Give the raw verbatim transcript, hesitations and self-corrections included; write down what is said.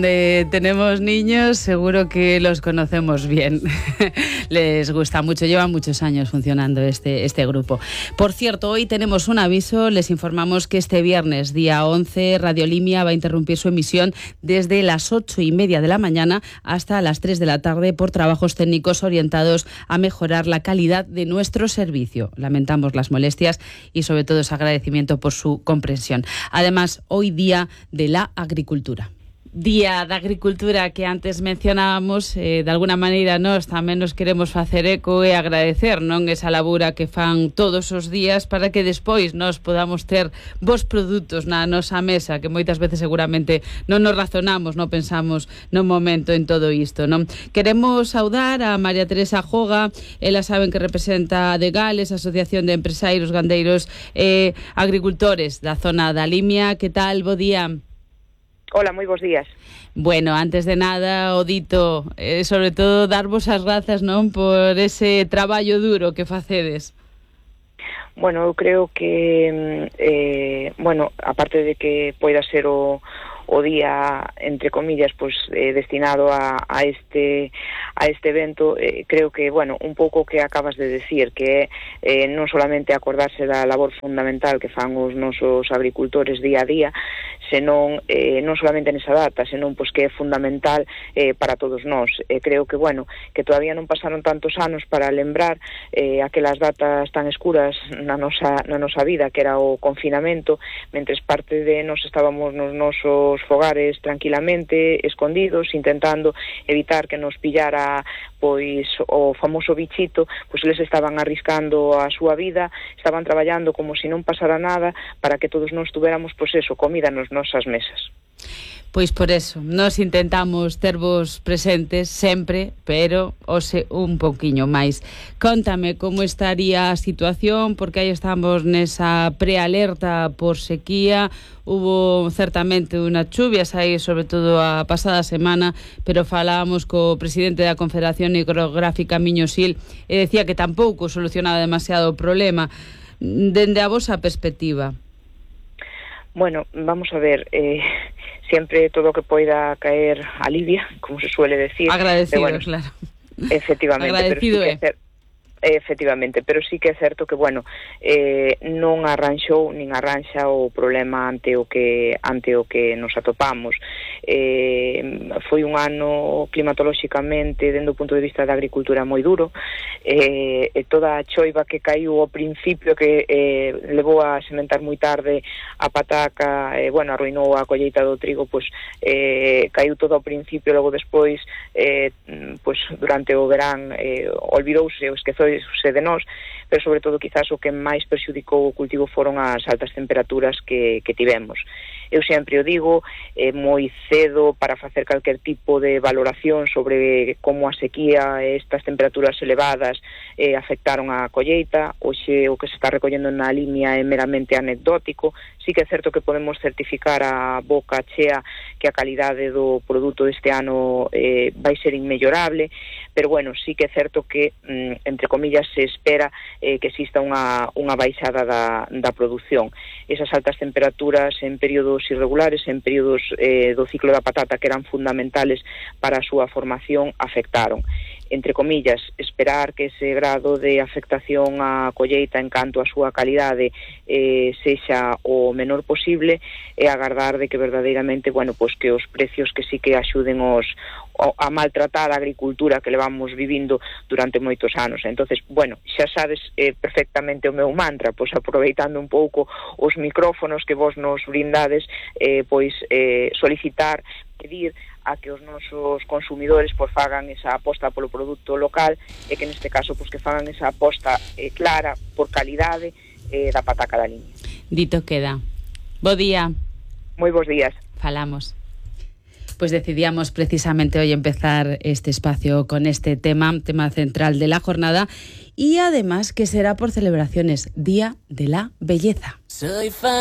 Donde tenemos niños, seguro que los conocemos bien. Les gusta mucho, llevan muchos años funcionando este, este grupo. Por cierto, hoy tenemos un aviso, les informamos que este viernes, día once, Radio Limia va a interrumpir su emisión desde las ocho y media de la mañana hasta las tres de la tarde por trabajos técnicos orientados a mejorar la calidad de nuestro servicio. Lamentamos las molestias y sobre todo ese agradecimiento por su comprensión. Además, hoy día de la agricultura. Día da Agricultura que antes mencionábamos, eh, de alguna maneira nós tamén nos queremos facer eco e agradecer, non, esa labura que fan todos os días para que despois nós podamos ter bons produtos na nosa mesa, que moitas veces seguramente non nos razonamos, non pensamos no momento en todo isto, non? Queremos saudar a María Teresa Joga, ela saben que representa a de Gales, Asociación de Empresarios Gandeiros e Agricultores da zona da Limia. Que tal? Bo día. Hola, moi bons días. Bueno, antes de nada, o dito, eh, sobre todo, darvos as grazas, non, por ese traballo duro que facedes. Bueno, eu creo que, eh, bueno, aparte de que poida ser o, o día, entre comillas, pues eh, destinado a, a este a este evento, eh, creo que, bueno, un pouco que acabas de decir, que eh, non solamente acordarse da labor fundamental que fan os nosos agricultores día a día, senón, eh, non solamente nesa data, senón pois que é fundamental eh, para todos nós. Eh, creo que, bueno, que todavía non pasaron tantos anos para lembrar eh, aquelas datas tan escuras na nosa, na nosa vida, que era o confinamento, mentres parte de nós estábamos nos nosos fogares tranquilamente, escondidos, intentando evitar que nos pillara pois o famoso bichito, pois eles estaban arriscando a súa vida, estaban traballando como se non pasara nada para que todos nós tuviéramos, pois eso, comida nos nosas mesas. Pois por eso, nós intentamos tervos presentes sempre, pero ose un pouquiño máis. Contame como estaría a situación, porque aí estamos nesa prealerta por sequía. Hubo certamente unha chuvias aí, sobre todo a pasada semana, pero falábamos co presidente da Confederación Hidrográfica Miño-Sil e decía que tampouco solucionaba demasiado o problema. Dende a vosa perspectiva. Bueno, vamos a ver, eh, siempre todo o que poida caer alivia, como se suele decir. Agradecido, bueno, claro. Efectivamente. Agradecido pero sí que é. Efectivamente, pero sí que é certo que, bueno, eh, non arranxou nin arranxa o problema ante o que ante o que nos atopamos. Eh, foi un ano climatolóxicamente, dende o punto de vista da agricultura, moi duro. Eh, e toda a choiva que caiu ao principio, que eh, levou a sementar moi tarde a pataca, eh, bueno, arruinou a colleita do trigo, pois eh, caiu todo ao principio, logo despois, eh, pois durante o verán, eh, olvidouse ou esquezou de nós, pero sobre todo quizás o que máis perxudicou o cultivo foron as altas temperaturas que, que tivemos. Eu sempre o digo, é moi cedo para facer calquer tipo de valoración sobre como a sequía e estas temperaturas elevadas eh, afectaron a colleita. Hoxe o que se está recollendo na Limia é meramente anecdótico. Sí que é certo que podemos certificar a boca chea que a calidade do produto deste ano eh, vai ser inmellorable, pero bueno, sí que é certo que, mm, entre comillas, se espera eh, que exista unha, unha baixada da, da produción. Esas altas temperaturas en períodos irregulares, en períodos eh, do ciclo da patata que eran fundamentales para a súa formación, afectaron. Entre comillas, esperar que ese grado de afectación á colleita en canto a súa calidade eh, sexa o menor posible e agardar de que verdadeiramente, bueno, pois que os precios que sí que axuden os a maltratar a agricultura que levamos vivindo durante moitos anos. Entonces, bueno, xa sabes eh, perfectamente o meu mantra, pois aproveitando un pouco os micrófonos que vos nos brindades, eh, pois eh, solicitar, pedir a que os nosos consumidores pois fagan esa aposta polo produto local e que neste caso pois que fagan esa aposta eh, clara por calidade eh, da pataca da Limia. Dito queda. Bo día. Moi bons días. Falamos. Pues decidíamos precisamente hoy empezar este espacio con este tema, tema central de la jornada, y además que será por celebraciones, Día de la Belleza. Soy fan.